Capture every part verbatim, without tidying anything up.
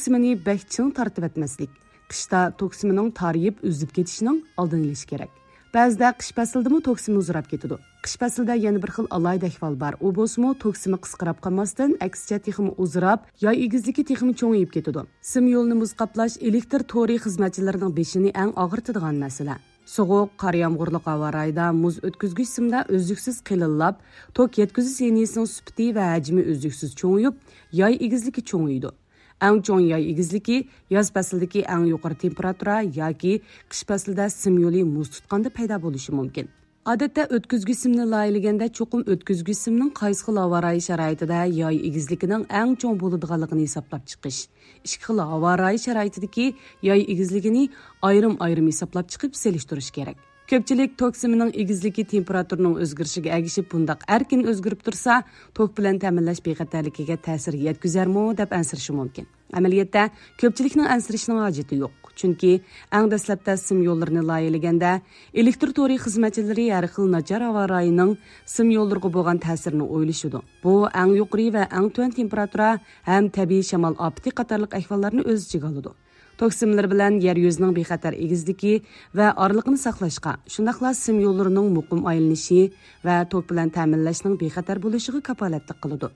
توكسىمىنى بەك چىڭ تارتىۋەتمەسلىك. قىشتا توكسىمىنىڭ تارىيىپ ئۈزۈپ كېتىشىنىڭ ئالدىنى ئېلىش كېرەك. بەزىدە قىش پەسلىدىمۇ توكسىمى ئۇزىراپ كېتىدۇ. قىش پەسلىدە يەنە بىر خىل ئالاھىدە ئەھۋال بار. ئۇ بولسىمۇ توكسىمى قىسقىراپ قالماستىن، ئەكسىچە تېخىمۇ ئۇزىراپ، ياي ئېگىزلىكى تېخىمۇ چوڭىيىپ كېتىدۇ. سىم يولىنى مۇز قاپلاش ئېلېكتر تورى خىزمەتچىلىرىنىڭ بېشىنى ئەڭ ئاغرىتىدىغان مەسىلە. سوغۇق، قار يامغۇرلۇق ھاۋا رايىدا مۇز ئۆتكۈزگۈچ سىمدا ئۈزلۈكسىز قېلىنلاپ، توك يەتكۈزۈش لىنىيىسىنىڭ سۈپىتى ۋە ھەجمى ئۈزلۈكسىز چوڭىيىپ، ياي ئېگىزلىكى چوڭىيىدۇ. ئەڭ چوڭ ياي ئېگىزلىكى ياز پەسلىدىكى ئەڭ يۇقىرى تېمپېراتۇرا ياكى قىش پەسلىدە سىم يولى مۇز تۇتقاندا پەيدا بولۇشى مۇمكىن. ئادەتتە ئۆتكۈزگۈچ سىمنى لايىھەلىگەندە چوقۇم ئۆتكۈزگۈچ سىمنىڭ قايسى خىل ھاۋا رايى شارائىتىدا ياي ئېگىزلىكىنىڭ ئەڭ چوڭ بولىدىغانلىقىنى ھېسابلاپ چىقىش، ئىككى خىل ھاۋا رايى شارائىتىدىكى ياي ئېگىزلىكىنى ئايرىم-ئايرىم ھېسابلاپ چىقىپ سېلىشتۇرۇش كېرەك. كۆپچىلىك توك سىمىنىڭ ئېگىزلىكى تېمپېراتۇرىنىڭ ئۆزگىرىشىگە ئەگىشىپ بۇنداق ئەركىن ئۆزگىرىپ تۇرسا، توك بىلەن تەمىنلەش بىخەتەرلىكىگە تەسىر يەتكۈزەرمۇ دەپ ئەنسىرىشى مۇمكىن. ئەمەلىيەتتە، كۆپچىلىكنىڭ ئەنسىرىشىنىڭ ھاجىتى يوق. چۈنكى ئەڭ دەسلەپتە سىم يوللىرىنى لايىھەلىگەندە، ئېلېكتر تورى خىزمەتچىلىرى ھەر خىل ناچار ھاۋا رايىنىڭ سىم يوللىرىغا بولغان تەسىرىنى ئويلىشىدۇ. بۇ ئەڭ يۇقىرى ۋە ئەڭ تۆۋەن تېمپېراتۇرا ھەم تەبىئىي شامال ئاپىتى قاتارلىق ئەھۋاللارنى ئۆز ئىچىگە ئالىدۇ. توك سىملىرى بىلەن يەر يۈزىنىڭ بىخەتەر ئېگىزلىكى ۋە ئارىلىقىنى ساقلاشقا، شۇنداقلا سىم يوللىرىنىڭ مۇقىم ئايلىنىشى ۋە توك بىلەن تەمىنلەشنىڭ بىخەتەر بولۇشىغا كاپالەتلىك قىلىدۇ.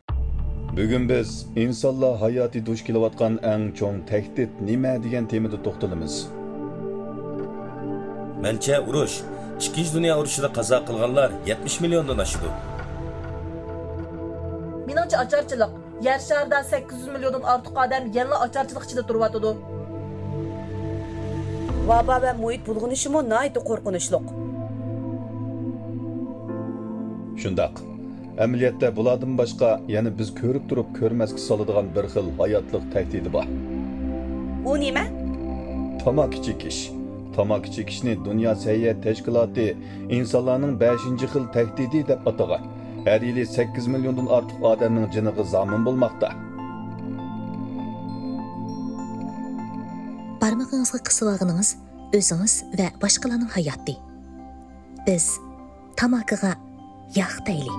بۈگۈن بىز ئىنسانلار ھاياتى دۇچ كېلىۋاتقان ئەڭ چوڭ تەھدىت نېمە دېگەن تېمىدا توختىلىمىز. مەنچە ئۇرۇش، ئىككىنچى دۇنيا ئۇرۇشىدا قازا قىلغانلار يەتمىش مىليوندىن ئاشىدۇ. مېنىڭچە ئاچارچىلىق. يەر شارىدا سەككىز يۈز مىليوندىن ئارتۇق ئادەم يەنىلا ئاچارچىلىق ئىچىدە تۇرۇۋاتىدۇ. ۋابا ۋە مۇھىت بۇلغىنىشىمۇ ناھايىتى قورقۇنچلۇق. شۇنداق. ئەمەلىيەتتە بۇلاردىن باشقا يەنە بىز كۆرۈپ تۇرۇپ كۆرمەسكە سالىدىغان بىر خىل ھاياتلىق تەھدىتى بار. ئۇ نېمە؟ تاماكا چېكىش. تاماكا چېكىشنى دۇنيا سەھىيە تەشكىلاتى ئىنسانلارنىڭ بەشىنچى خىل تەھدىتى دەپ ئاتىغان. ھەر يىلى سەككىز مىليوندىن ئارتۇق ئادەمنىڭ جېنىغا زامىن بولماقتا. بارمىقىڭىزغا قىسىۋالغىنىڭىز ئۆزىڭىز ۋە باشقىلارنىڭ ھاياتى. بىز تاماكىغا ياق دەيلى.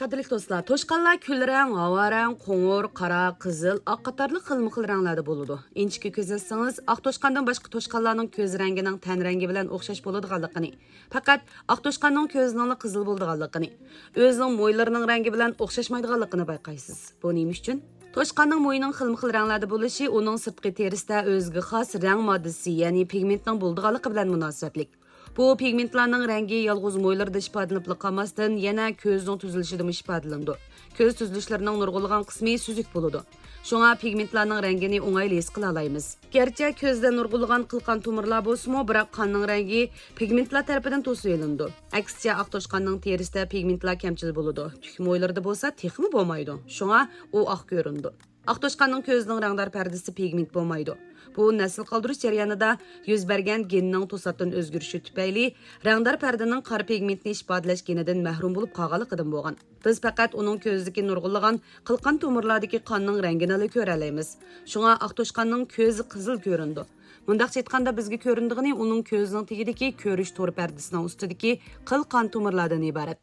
قەدىرلىك دوستلار، توشقانلار كۈل رەڭ، ھاۋا رەڭ، قوڭۇر، قارا، قىزىل، ئاق قاتارلىق خىلمۇ خىل رەڭلەردە بولىدۇ. ئىنچىكە كۆزەتسىڭىز، ئاق توشقاندىن باشقا توشقانلارنىڭ كۆز رەڭگىنىڭ تەن رەڭگى بىلەن ئوخشاش بولىدىغانلىقىنى، پەقەت ئاق توشقاننىڭ كۆزىنىڭلا قىزىل بولىدىغانلىقىنى، ئۆزىنىڭ مويلىرىنىڭ رەڭگى بىلەن ئوخشاشمايدىغانلىقىنى بايقايسىز. بۇ نېمە ئۈچۈن؟ توشقاننىڭ مويىنىڭ خىلمۇ خىل رەڭلەردە بولۇشى ئۇنىڭ سىرتقى تېرىسىدە ئۆزىگە خاس رەڭ ماددىسى، يەنى پىگمېنتنىڭ بولىدىغانلىقى بىلەن مۇناسىۋەتلىك. بۇ پىگمېنتلارنىڭ رەڭگى يالغۇز مويلىرىدا ئىپادىلىنىپلا قالماستىن، يەنە كۆزنىڭ تۈزۈلۈشىدىمۇ ئىپادىلىنىدۇ. كۆز تۈزۈلۈشلىرىنىڭ نۇرغۇنلىغان قىسمى سۈزۈك بولىدۇ. شۇڭا پىگمېنتلارنىڭ رەڭگىنى ئوڭايلا ھېس قىلالايمىز. گەرچە كۆزدە نۇرغۇنلىغان قىلقان تومۇرلار بولسىمۇ، بىراق قاننىڭ رەڭگى پىگمېنتلار تەرىپىدىن توسۇۋېلىنىدۇ. ئەكسىچە، ئاق توشقاننىڭ تېرىسىدە پىگمېنتلار كەمچىل بولىدۇ، تۈك مويلىرىدا بولسا تېخىمۇ بولمايدۇ. شۇڭا ئۇ ئاق كۆرۈنىدۇ. ئاق توشقاننىڭ كۆزىنىڭ رەڭدار پەردىسىدە پىگمېنت بولمايدۇ. بۇ نەسىل قالدۇرۇش جەريانىدا يۈز بەرگەن گېننىڭ توساتتىن ئۆزگىرىشى تۈپەيلى رەڭدار پەردىنىڭ قارا پىگمېنتنى ئىپادىلەش گېنىدىن مەھرۇم بولۇپ قالغانلىقىدىن بولغان. بىز پەقەت ئۇنىڭ كۆزىدىكى نۇرغۇنلىغان قىلقان تومۇرلاردىكى قاننىڭ رەڭگىنىلا كۆرەلەيمىز. شۇڭا ئاق توشقاننىڭ كۆزى قىزىل كۆرۈنىدۇ. مۇنداقچە ئېيتقاندا، بىزگە كۆرۈنىدىغىنى ئۇنىڭ كۆزىنىڭ تېگىدىكى كۆرۈش تور پەردىسىنىڭ ئۈستىدىكى قىلقان تومۇرلاردىن ئىبارەت.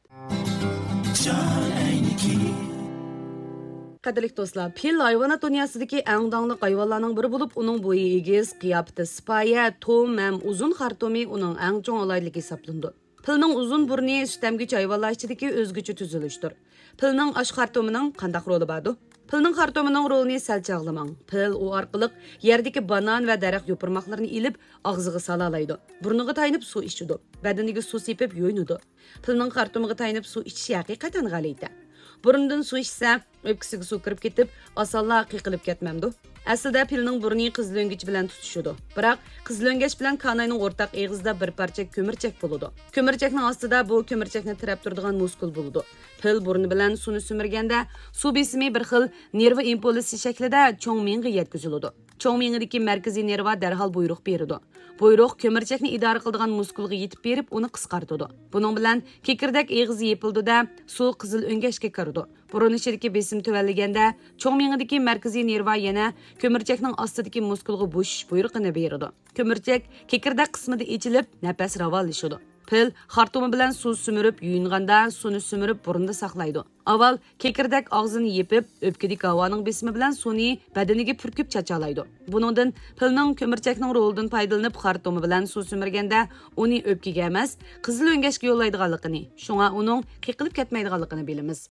قەدىرلىك دوستلار، پىل ھايۋانات دۇنياسىدىكى ئەڭ داڭلىق ھايۋانلارنىڭ بىرى بولۇپ، ئۇنىڭ بويى ئېگىز، قىياپىتى سىپايە، توم ھەم ئۇزۇن خارتۇمى ئۇنىڭ ئەڭ چوڭ ئالاھىدىلىكى ھېسابلىنىدۇ. پىلنىڭ ئۇزۇن بۇرنى سۈت ئەمگۈچى ھايۋانلار ئىچىدىكى ئۆزگىچە تۈزۈلۈشتۇر. پىلنىڭ ئاش خارتۇمىنىڭ قانداق رولى باردۇ؟ پىلنىڭ خارتۇمىنىڭ رولىنى سەل چاغلىماڭ. پىل ئۇ ئارقىلىق يەردىكى بانان ۋە دەرەخ يوپۇرماقلىرىنى ئېلىپ، ئاغزىغا سالالايدۇ. بۇرنىغا تايىنىپ سۇ ئىچىدۇ. بەدىنىگە سۇ سېپىپ يۇيۇنىدۇ. پىلنىڭ خارتۇمىغا تايىنىپ سۇ ئىچىشى ھەقىقەتەن غەلىتە. بۇرنىدىن سۇ ئىچسە، ئۆپكىسىگە سۇ كىرىپ كېتىپ، ئاسانلا قېقىلىپ كەتمەمدۇ؟ ئەسلىدە پىلنىڭ بۇرنى قىزىل ئۆڭگەچ بىلەن تۇتىشىدۇ. بىراق، قىزىل ئۆڭگەچ بىلەن كاناينىڭ ئورتاق ئېغىزىدا بىر پارچە كۆمۈرچەك بولىدۇ. كۆمۈرچەكنىڭ ئاستىدا بۇ كۆمۈرچەكنى تىرەپ تۇرىدىغان مۇسكۇل بولىدۇ. پىل بۇرنى بىلەن سۇنى سۈمۈرگەندە، سۇ بېسىمى بىر خىل نېرۋا ئىمپۇلسى شەكلىدە چوڭ مېڭىگە يەتكۈزۈلىدۇ. چوڭ مېڭىدىكى مەركىزىي نېرۋا دەرھال بۇيرۇق بېرىدۇ. بۇيرۇق كۆمۈرچەكنى ئىدارە قىلىدىغان مۇسكۇلغا يېتىپ بېرىپ، ئۇنى قىسقارتىدۇ. بۇنىڭ بىلەن كېكىردەك ئېغىزى يېپىلىدۇ-دە، سۇ قىزىل ئۆڭگەچكە كىرىدۇ. بۇرۇن ئىچىدىكى بېسىم تۆۋەنلىگەندە، چوڭ مېڭىدىكى مەركىزىي نېرۋا يەنە كۆمۈرچەكنىڭ ئاستىدىكى مۇسكۇلغا بوشىش بۇيرۇقىنى بېرىدۇ. كۆمۈرچەك كېكىردەك قىسمىدا ئېچىلىپ، نەپەس راۋانلىشىدۇ. پىل خارتۇمى بىلەن سۇ سۈمۈرۈپ يۇيۇنغاندا، سۇنى سۈمۈرۈپ بۇرنىدا ساقلايدۇ. ئاۋۋال كېكىردەك ئاغزىنى يېپىپ، ئۆپكىدىكى ھاۋانىڭ بېسىمى بىلەن سۇنى بەدىنىگە پۈركۈپ چاچالايدۇ. بۇنىڭدىن پىلنىڭ كۆمۈرچەكنىڭ رولىدىن پايدىلىنىپ خارتۇمى بىلەن سۇ سۈمۈرگەندە، ئۇنى ئۆپكىگە ئەمەس، قىزىل ئۆڭگەشكە يوللايدىغانلىقىنى، شۇڭا ئۇنىڭ قېقىلىپ كەتمەيدىغانلىقىنى بىلىمىز.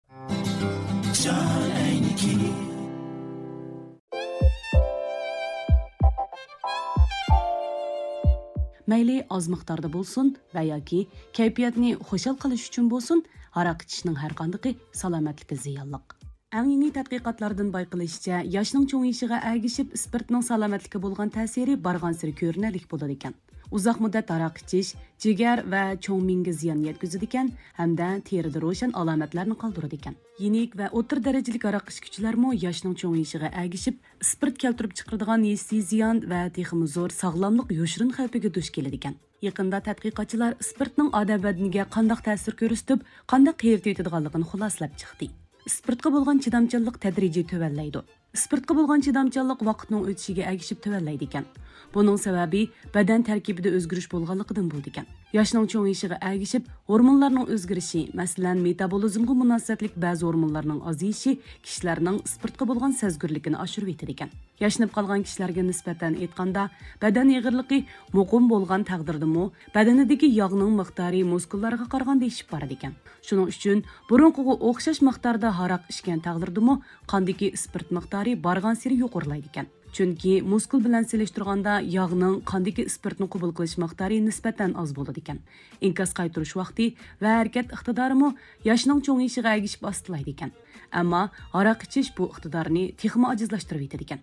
مەيلى ئاز مىقداردا بولسۇن ۋە ياكى كەيپىياتنى خۇشال قىلىش ئۈچۈن بولسۇن، ھاراق ئىچىشنىڭ ھەرقاندىقى سالامەتلىككە زىيانلىق. ئەڭ يېڭى تەتقىقاتلاردىن بايقىلىشىچە، ياشنىڭ چوڭىيىشىغا ئەگىشىپ ئىسپىرتنىڭ سالامەتلىككە بولغان تەسىرى بارغانسېرى كۆرۈنەرلىك بولىدىكەن. ئۇزاق مۇددەت ھاراق ئىچىش جىگەر ۋە چوڭ مېڭىگە زىيان يەتكۈزىدىكەن ھەمدە تېرىدە روشەن ئالامەتلەرنى قالدۇرىدىكەن. يېنىك ۋە ئوتتۇرا دەرىجىلىك ھاراق ئىچكۈچىلەرمۇ ياشنىڭ چوڭىيىشىغا ئەگىشىپ ئىسپىرت كەلتۈرۈپ چىقىرىدىغان ھېسسىي زىيان ۋە تېخىمۇ زور ساغلاملىق يوشۇرۇن خەۋپىگە دۇچ كېلىدىكەن. يېقىندا تەتقىقاتچىلار ئىسپىرتنىڭ ئادەم بەدىنىگە قانداق تەسىر كۆرسىتىپ، قانداق قېرىتىۋېتىدىغانلىقىنى خۇلاسىلەپ چىقتى. ئىسپىرتقا بولغان چىدامچانلىق تەدرىجىي تۆۋەنلەيدۇ. ئىسپىرتقا بولغان چىدامچانلىق ۋاقىتنىڭ ئۆتۈشىگە ئەگىشىپ تۆۋەنلەيدىكەن. بۇنىڭ سەۋەبى بەدەن تەركىبىدە ئۆزگىرىش بولغانلىقىدىن بولىدىكەن. ياشنىڭ چوڭىيىشىغا ئەگىشىپ ھورمونلارنىڭ ئۆزگىرىشى، مەسىلەن، مېتابولىزمغا مۇناسىۋەتلىك بەزى ھورمونلارنىڭ ئازىيىشى كىشىلەرنىڭ ئىسپىرتقا بولغان سەزگۈرلۈكىنى ئاشۇرۇۋېتىدىكەن. ياشىنىپ قالغان كىشىلەرگە نىسبەتەن ئېيتقاندا، بەدەن ئېغىرلىقى مۇقىم بولغان تەقدىردىمۇ، بەدىنىدىكى ياغنىڭ مىقدارى مۇسكۇللارغا قارىغاندا ئېشىپ بارىدىكەن. شۇنىڭ ئۈچۈن بۇرۇنقىغا ئوخشاش مىقداردا ھاراق ئىچكەن تەقدىردىمۇ، قاندىكى ئىسپىرت مىقدارى بارغانسېرى يۇقىرىلايدىكەن. چۈنكى مۇسكۇل بىلەن سېلىشتۇرغاندا ياغنىڭ قاندىكى ئىسپىرتنى قوبۇل قىلىش مىقدارى نىسبەتەن ئاز بولىدىكەن. ئىنكاس قايتۇرۇش ۋاقتى ۋە ھەرىكەت ئىقتىدارىمۇ ياشنىڭ چوڭىيىشىغا ئەگىشىپ ئاستىلايدىكەن. ئەمما ھاراق ئىچىش بۇ ئىقتىدارنى تېخىمۇ ئاجىزلاشتۇرۇۋېتىدىكەن.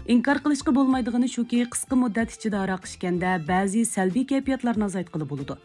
ئىنكار قىلىشقا بولمايدىغىنى شۇكى، قىسقا مۇددەت ئىچىدە ھاراق ئىچكەندە بەزى سەلبىي كەيپىياتلارنى ئازايتقىلى بولىدۇ.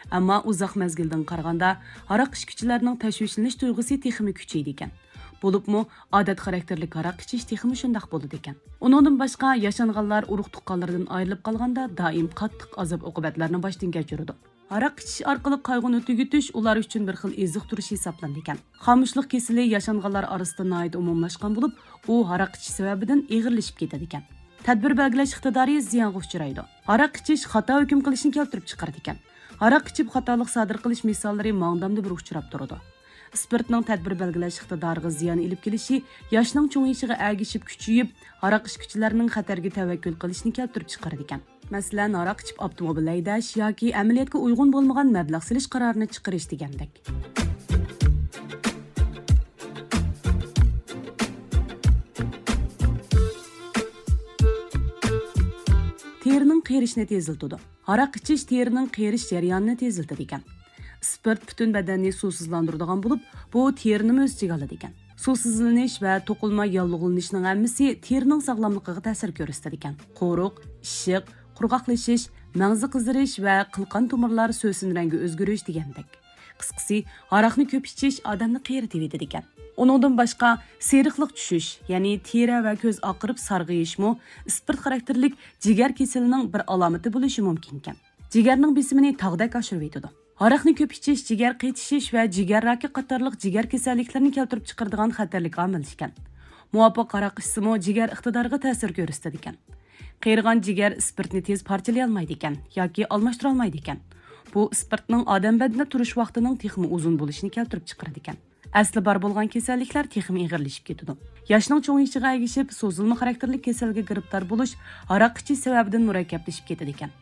ئەمما ئۇزاق مەزگىلدىن قارىغاندا، ھاراق ئىچكۈچىلەرنىڭ تەشۋىشلىنىش تۇيغۇسى تېخىمۇ كۈچىيىدىكەن. بولۇپمۇ ئادەت خاراكتېرلىك ھاراق ئىچىش تېخىمۇ شۇنداق بولىدىكەن. ئۇنىڭدىن باشقا، ياشانغانلار ئۇرۇق-تۇغقانلىرىدىن ئايرىلىپ قالغاندا دائىم قاتتىق ئازاب-ئوقۇبەتلەرنى باشتىن كەچۈرىدۇ. ھاراق ئىچىش ئارقىلىق قايغۇنى تۈگىتىش ئۇلار ئۈچۈن بىر خىل ئېزىقتۇرۇش ھېسابلىنىدىكەن. خامۇشلۇق كېسىلى ياشانغانلار ئارىسىدا ناھايىتى ئومۇملاشقان بولۇپ، ئۇ ھاراق ئىچىش سەۋەبىدىن ئېغىرلىشىپ كېتىدىكەن. تەدبىر بەلگىلەش ئىقتىدارى زىيانغا ئۇچرايدۇ. ھاراق ئىچىش خاتا ھۆكۈم قىلىشنى كەلتۈرۈپ چىقىرىدىكەن. ھاراق ئىچىپ خاتالىق سادىر قىلىش مىساللىرى ماڭدامدا بىر ئۇچراپ تۇرىدۇ. ئىسپىرتنىڭ تەدبىر بەلگىلەش ئىقتىدارىغا زىيان ئېلىپ كېلىشى ياشنىڭ چوڭىيىشىغا ئەگىشىپ كۈچىيىپ، ھاراق ئىچكۈچىلەرنىڭ خەتەرگە تەۋەككۈل قىلىشىنى كەلتۈرۈپ چىقىرىدىكەن. مەسىلەن، ھاراق ئىچىپ ئاپتوموبىل ھەيدەش ياكى ئەمەلىيەتكە ئۇيغۇن بولمىغان مەبلەغ سېلىش قارارىنى چىقىرىش دېگەندەك. تېرىنىڭ قېرىشىنى تېزلىتىدۇ. ھاراق ئىچىش تېرىنىڭ قېرىش جەريانىنى تېزلىتىدىكەن. ئىسپىرت پۈتۈن بەدەننى سۇسىزلاندۇرىدىغان بولۇپ، بۇ تېرىنىمۇ ئۆز ئىچىگە ئالىدىكەن. سۇسىزلىنىش ۋە توقۇلما ياللۇغلىنىشنىڭ ھەممىسى تېرىنىڭ ساغلاملىقىغا تەسىر كۆرسىتىدىكەن. قورۇق، ئىششىق، قۇرغاقلىشىش، مەڭزى قىزىرىش ۋە قىلقان تومۇرلار سۆسۈن رەڭگە ئۆزگىرىش دېگەندەك. قىسقىسى، ھاراقنى كۆپ ئىچىش ئادەمنى قېرىتىۋېتىدىكەن. ئۇنىڭدىن باشقا، سېرىقلىق چۈشۈش، يەنى تېرە ۋە كۆز ئاقىرىپ سارغىيىشمۇ ئىسپىرت خاراكتېرلىك جىگەر كېسىلىنىڭ بىر ئالامىتى بولۇشى مۇمكىنكەن. جىگەرنىڭ بېسىمىنى تاغدەك ئاشۇرۇۋېتىدۇ. ھاراقنى كۆپ ئىچىش جىگەر قېتىشىش ۋە جىگەر راكى قاتارلىق جىگەر كېسەللىكلىرىنى كەلتۈرۈپ چىقىرىدىغان خەتەرلىك ئامىل ئىكەن. مۇۋاپىق ھاراق ئىچسىمۇ جىگەر ئىقتىدارىغا تەسىر كۆرسىتىدىكەن. قېرىغان جىگەر ئىسپىرتنى تېز پارچىلىيالمايدىكەن ياكى ئالماشتۇرالمايدىكەن. بۇ ئىسپىرتنىڭ ئادەم بەدىنىدە تۇرۇش ۋاقتىنىڭ تېخىمۇ ئۇزۇن بولۇشىنى كەلتۈرۈپ چىقىرىدىكەن. ئەسلى بار بولغان كېسەللىكلەر تېخىمۇ ئېغىرلىشىپ كېتىدۇ. ياشنىڭ چوڭىيىشىغا ئەگىشىپ، سوزۇلما خاراكتېرلىك كېسەلگە گىرىپتار بولۇش ھاراق ئىچىش سەۋەبىدىن مۇرەككەپلىشىپ كېتىدىكەن.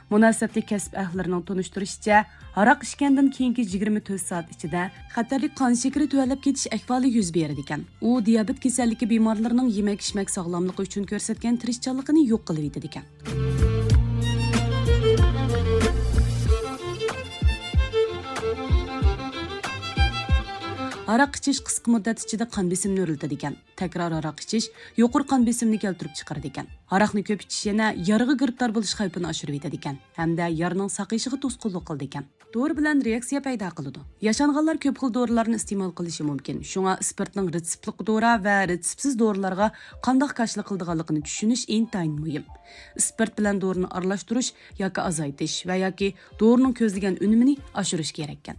مۇناسىۋەتلىك كەسىپ ئەھلىلىرىنىڭ تونۇشتۇرۇشىچە، ھاراق ئىچكەندىن كېيىنكى يىگىرمە تۆت سائەت ئىچىدە خەتەرلىك قان شېكىرى تۆۋەنلەپ كېتىش ئەھۋالى يۈز بېرىدىكەن. ئۇ دىيابېت كېسەللىكى بىمارلىرىنىڭ يېمەك-ئىچمەك ساغلاملىقى ئۈچۈن كۆرسەتكەن تىرىشچانلىقىنى يوق قىلىۋېتىدىكەن. ھاراق ئىچىش قىسقا مۇددەت ئىچىدە قان بېسىمنى ئۆرلىتىدىكەن. تەكرار ھاراق ئىچىش يۇقىرى قان بېسىمىنى كەلتۈرۈپ چىقىرىدىكەن. ھاراقنى كۆپ ئىچىش يەنە يارىغا گىرىپتار بولۇش خەۋپىنى ئاشۇرۇۋېتىدىكەن ھەمدە يارىنىڭ ساقىيىشىغا توسقۇنلۇق قىلىدىكەن. دورا بىلەن رېئاكسىيە پەيدا قىلىدۇ. ياشانغانلار كۆپ خىل دورىلارنى ئىستېمال قىلىشى مۇمكىن. شۇڭا ئىسپىرتنىڭ رېتسېپلىق دورا ۋە رېتسېپسىز دورىلارغا قانداق كاشىلا قىلىدىغانلىقىنى چۈشىنىش ئىنتايىن مۇھىم. ئىسپىرت بىلەن دورىنى ئارىلاشتۇرۇش ياكى ئازايتىش ۋە ياكى دورىنىڭ كۆزلىگەن ئۈنۈمىنى ئاشۇرۇش كېرەككەن.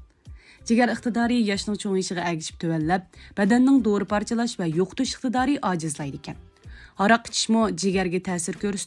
جىگەر ئىقتىدارى ياشنىڭ چوڭىيىشىغا ئەگىشىپ تۆۋەنلەپ، بەدەننىڭ دورا پارچىلاش ۋە يوقىتىش ئىقتىدارى ئاجىزلايدىكەن. ھاراق ئىچىشمۇ جىگەرگە تەسىر كۆرسىتىپ،